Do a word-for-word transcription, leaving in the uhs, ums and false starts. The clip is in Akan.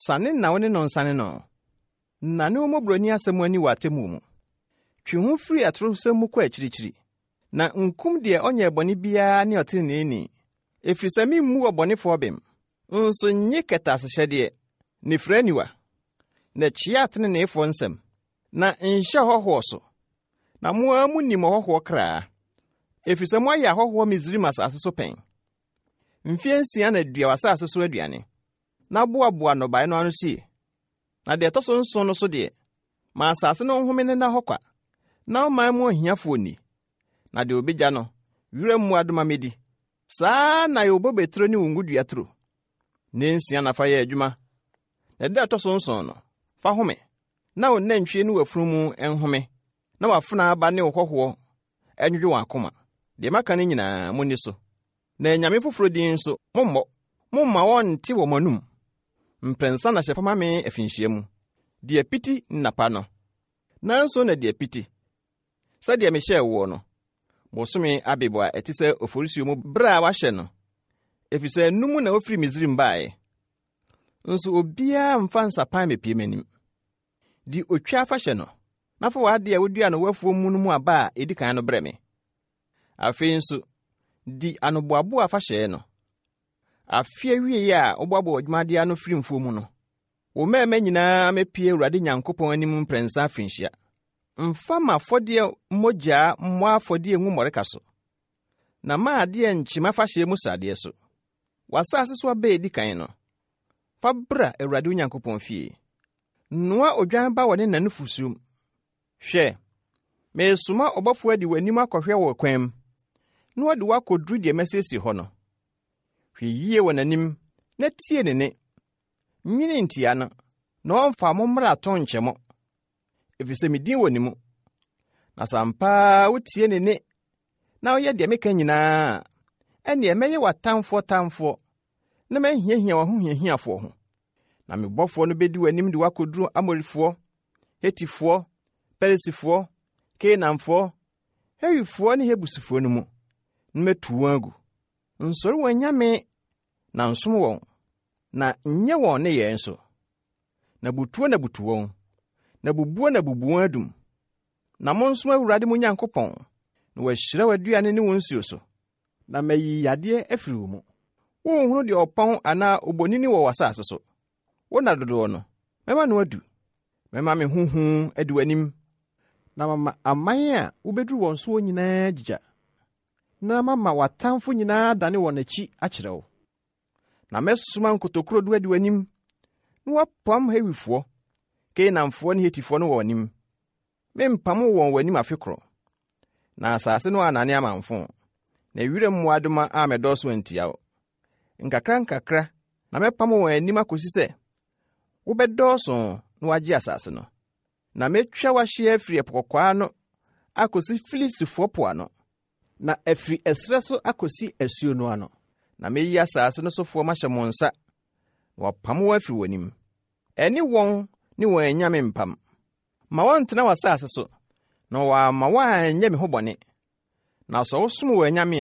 Sane na wo ne no nsane no. Nnane wo mmɔborɔni asɛm ani wɔ atemmuo mu. Twe ho firi atorosɛm mu kɔ akyirikyiri, na nkum deɛ ɔnyɛɛ bɔne biara ne ɔteneneeni, ɛfiri sɛ memmu ɔbɔnefoɔ bem. Nso nnye kɛtɛasehyɛdeɛ, ne fira aniwa, na kyea ateneneefoɔ nsɛm, na nhyɛ ɔhɔhoɔ so. Na mo ara munim ɔhɔhoɔ kra, ɛfiri sɛ moayɛ ahɔhoɔ Misraim asase so pɛn. Mfeɛ nsia na dua w'asase so aduane, na boaboa nnɔbaeɛ no ano sie. Na deɛ ɛtɔ so nson no so deɛ, ma asase no nhome ne nna hɔ kwa, na ɔman mu ahiafoɔ nni. Na deɛ obegya no, wiram mmoadoma mmedi. Saa na yɛ wo bobeturo ne wo ngodua turo. Nnansia na fa yɛ adwuma, na da a ɛtɔ so nson no, fa home, na wo nantwie ne w'afunumu nhome, na w'afenaa ba ne wo hɔhoɔ nnwodwo wɔn akoma. Deɛ maka no nyinaa, munni so. Na anyame foforɔ din nso, mommɔ. Momma wɔnnte wɔ mo anom. Mprɛnsa na hyɛ fa ma me afinhyia mu. Di apiti nnapa no. Nnanson na di apiti, sɛdeɛ mehyɛɛ woɔ no, bosome Abib a ɛte sɛ Oforisuo mu bere a wɔahyɛ no, efisɛ ɛno mu na wofiri Misraim baeɛ. Nso obiara mfa nsapan mmepue m'anim. Di otwa afahyɛ no, na fa w'ade a wodua no w'afuo mu no mu aba a edi kan no brɛ me. Afei nso, di anoboaboa afahyɛ no. Afe awiei a woboaboa w'adwumadeɛ ano firi mfuo mu no, wo mmarima nyinaa mepue Awurade Nyankopɔn anim mprɛnsa afirinhyia. Mfa m'afɔdeɛ mogyaa mmɔ afɔdeɛ ngu mmɔreka so, na mma adeɛ nkye m'afahyɛ mu sradeɛ so. W'asase so aba a edi kan no, fa bra Awurade wo Nyankopɔn fie. Noa odwan ba wɔ ne na nufusu mu. Hwɛ, meresoma ɔbɔfo adi w'anim akɔhwɛ wɔ kwan mu, na ɔde wo akɔduru deɛ masiesie hɔ no. Hwɛ yie wɔ n'anim na tie ne nne. Nwene ntia no, na ɔmfa mo mmarato nkyɛ mo, ɛfiri sɛ me din wɔ ne mu. Na sɛ ampa ara wotie ne nne na woyɛ deɛ meka nyinaa a, ɛnneɛ mɛyɛ w'atamfoɔ tamfoɔ na mahiahia w'ahohiahiafoɔ ho. Na me bɔfoɔ no bedi w'anim de wo akɔduru Amorifoɔ, Hetifoɔ, Perisifoɔ, Kanaanfoɔ, Hewifoɔ ne Yebusifoɔ no mu, na matu wɔn agu. Nsɔre wɔn anyame na nsom wɔn, na nyɛ wɔn nneyɛe nso. Na butuo na butu wɔn, na bubuo na bubu wɔn adum. Na monsom Awurade mo Nyankopɔn, na wahyira w'aduane ne wo nsuo so. Na mayi yadeɛ afiri wo mu. Wonhunu deɛ ɔpɔn anaa obonini wɔ w'asase so. Wo nna dodoɔ no, mɛma no adu. Mɛma me ho hu adi w'anim, na mama aman a wobɛduru wɔn soɔ nyinaa agyigya, na mama w'atamfo nyinaa adane wɔn akyi akyerɛ wo. Na mɛsoma nkotokurodu adi w'anim, na woapam Hewifoɔ, Kanaanfoɔ ne Hetifoɔ no wɔ w'anim. Mempam wɔn w'anim afe koro. Na asase no annane amamfo, na wiram mmoadoma ammɛdɔɔso antia wo. Nkakra nkakra na mɛpam wɔn anim akosi sɛ wobɛdɔɔso na woagye asase no. Na metwa w'ahyeɛ afiri Ɛpo Kɔkɔɔ ano akosi Filistifoɔ po ano, na afiri ɛserɛ so akosi asuo no ano. Na meyi asase no sofoɔ mahyɛ mo nsa, na wɔapam wɔn afiri w'anim. Ɛne wɔn ne wɔn anyame mpam. Ma wɔntena w'asase so, na wɔamma woanyɛ me ho bɔne. Na sɛ wosom wɔn anyame